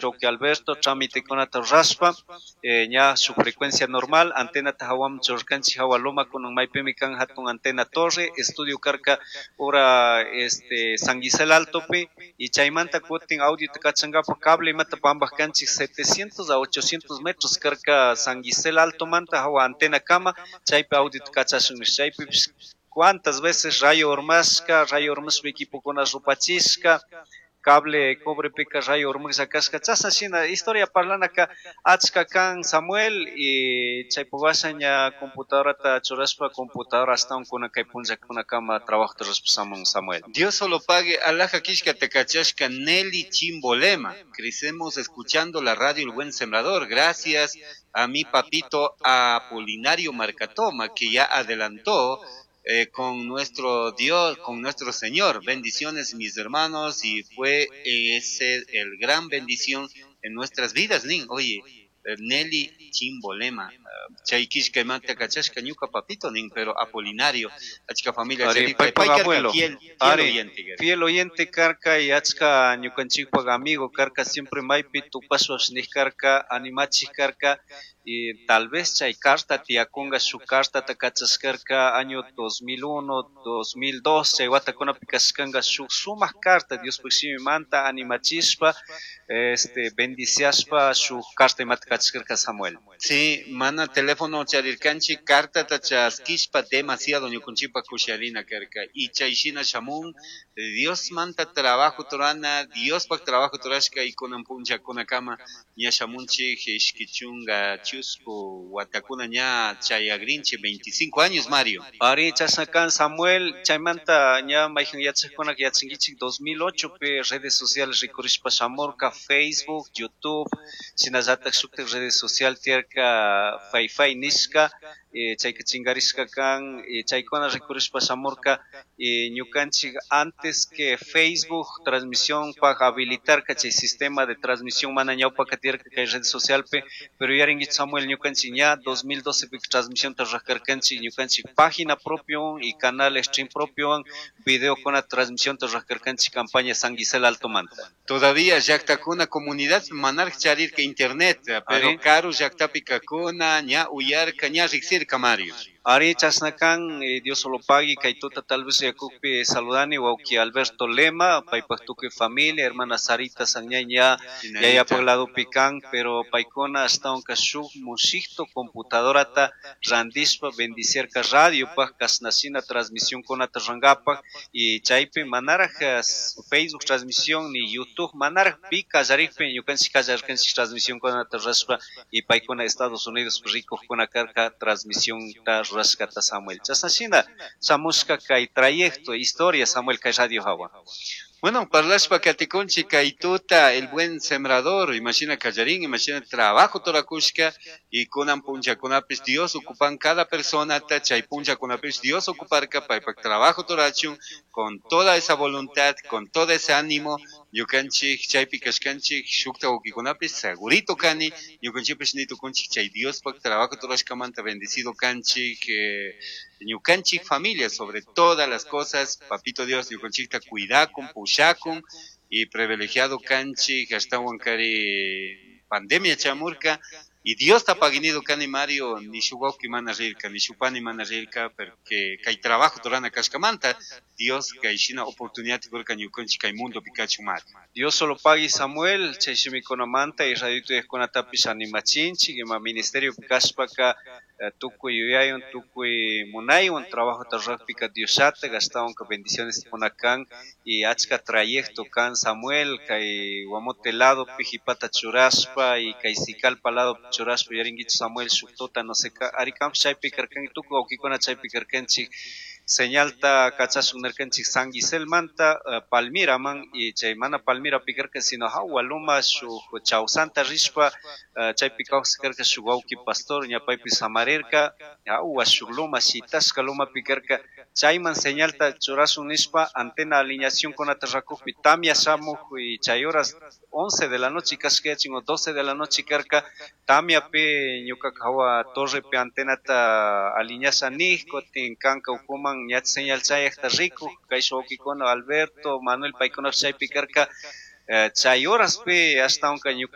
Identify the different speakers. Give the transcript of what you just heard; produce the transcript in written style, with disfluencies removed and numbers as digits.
Speaker 1: Roque Alberto trámitekunata rurashpa ña su frecuencia normal antenata hawaman churarkanchik hawa loma kunan maypimi kan hatun antena torre estudio karka ura San Gisel Altopi y chaymanta kutin audiota kachankapak cable imata pambaj kanchik 700 a 800 metros karka San Gisel Altomanta hawa antena kama chaypi audiota kachashun nish chaypipish cuántas veces rayo urmashka, rayo urmashpa equipokuna rupachishka, cable cobrepika rayo urmashka kashka chashna shina historia parlanaka achka kan Samuel y chaypuk washa ña computadorata churashpa computadora ashtawan kunan kay punllakunakama trabajota rurashpa shamun Samuel.
Speaker 2: Dios solo pague alhaja kishka kachashka Nelly Chimbolema. Crecemos escuchando la radio El Buen Sembrador. Gracias a mi papito Apolinario Marcatoma, que ya adelantó con nuestro Dios, con nuestro Señor. Bendiciones, mis hermanos, y fue ese el gran bendición en nuestras vidas, nin. Oye, Nelly Chimbolema, chay kishka imanta kachashka ñuka papito nin, pero Apolinario, achka familia
Speaker 1: Ari,
Speaker 2: charipa,
Speaker 1: paypak
Speaker 2: pay karka
Speaker 1: abuelo.
Speaker 2: fiel, fiel
Speaker 1: Ari,
Speaker 2: oyente, gar.
Speaker 1: fiel oyente karka y achka ñukanchikpak amigo karka, siempre maypi tupashpash nik karka, animachik karka, y tal vez chay carta tiyakunga shuk cartata kachashkarka año 2001, 2002, chay watakunapi kashkanka shuk sumak carta Diospuk shimimanta animachishpa, bendiciashpa shuk carta imata kachashkarka Samuel.
Speaker 2: Sí, mana teléfono charirkanchik cartata chaskishpa demasiado ñukunchikpa kusharina karka y chay shina shamun Dios manta trabajo torana, Diospak trabajo torashka y kunan punllakunakama ña shamunchik ishki chunga chusku watakuna ña chayagrinchik 25 años, Mario.
Speaker 1: Ari, chashna kan Samuel, chaymanta ña mayhan yachajkunaka yachankichik 2008 pi redes sociales rikurishpa shamurka Facebook, YouTube, shinallatak shuktak redes social tiyarka Fai nishka, chayka chinkarishka kan, chaykuna rikurishpa shamurka, ñukanchik antes que Facebook transmisión pa habilitarka chay sistema de transmisión mana ñawpaka tiyarka kay redes social pi, pero yarinkichik Samuel ñukanchik ña 2012 pi transmisión ta rurarkanchik ñukanchik página propio y canal stream propio video con la transmisión ta rurarkanchik campaña San Gisel Alto Manta.
Speaker 2: Todavía llaktakuna comunidad manark charirka internet, pero
Speaker 1: Ari.
Speaker 2: karu llaktapika kuna ña uyarka ña riksirka, Mario.
Speaker 1: Ari chashna kan, Dios solo pagui kay tuta tal vez yakukpi saludani wawki Alberto Lema, paypak tukuy familia, hermana Sarita Sanñay ña yayapak ladopi kan, pero paykuna ashtawanka shuk mushikto computadorata randishpa bendiciarka radiopak kashnashina transmisión kunata rurankapak y chaypi manaraj Facebook transmisión ni YouTube manaraj pi kallarikpi ñukanchik kallarkanchik transmisión kunata rurashpa y paykuna Estados Unidos rikukuna karka transmisión ta rurashkata Samuel. Chashnashina shamushka kay trayecto, historia Samuel kay radio hawa.
Speaker 2: Bueno, parlashpa katikunchik kay tuta, el buen sembrador, imagina kallarin, imagina trabajo torakushka, y kunan punllakunapis Dios ocupan cada persona, ta chay punllakunapis Dios ocuparka, paypak trabajo torachun, con toda esa voluntad, con todo ese ánimo, ñukanchik chaypi kashkanchik, shukta wawkikunapis segurito kani, ñukanchikpish nitukunchik chay Diospak trabajo torashkamanta bendecido kanchik, ñukanchik familia sobre todas las cosas, papito Dios ñukanchikta cuidakun, pushakun y privilegiado kanchik, ashtawan kari pandemia chamurka, y Dios ta paginido kani Mario, ni shuk wawki mana rirka, ni shuk pani mana rirka, porque kay trabajo torana kashkamanta, Dios kay shina oportunidad kurka ñukanchik kay mundo pikachu Mario.
Speaker 1: Dios solo pagui Samuel, chay shimikunamanta y radio tuyajkunatapish animachinchik, ima ministerio kashpaka, tukuy yuyaywan, tukuy munaywan trabajota rurakpika Diosllata ashtawanka bendiciones kunakan y achka trayecto kan Samuel, kay Guamote lado pijipata churashpa y kay Sicalpa lado churashpa yarinkichik Samuel shuk tuta no sé ka, ari kampish chaypi karkanki, tukuy wawkikuna chaypi karkanchik, señalta kachashun nirkanchik San Giselmanta, Palmiraman y chay mana Palmira pikarka sino hawa loma shuk Chawsanta rishpa, chaypi kawsarka shuk wawki pastor ña paypi samarirka, hawa shuk loma shitashka loma pikarka, chayman señalta churashun nishpa antena alineación kunata rakukpi tamia shamuj y chay horas 11 de la noche kashkayachin o 12 de la noche karka, tamiapi ñuka hawa torrepi antenata alineasha nij, kutin kanka ukuman ñach señal chayajta rikuj, kay shuk wawkikuna Alberto, Manuel paykuna chaypi karka, Chay horaspi ashtawanka ñuka.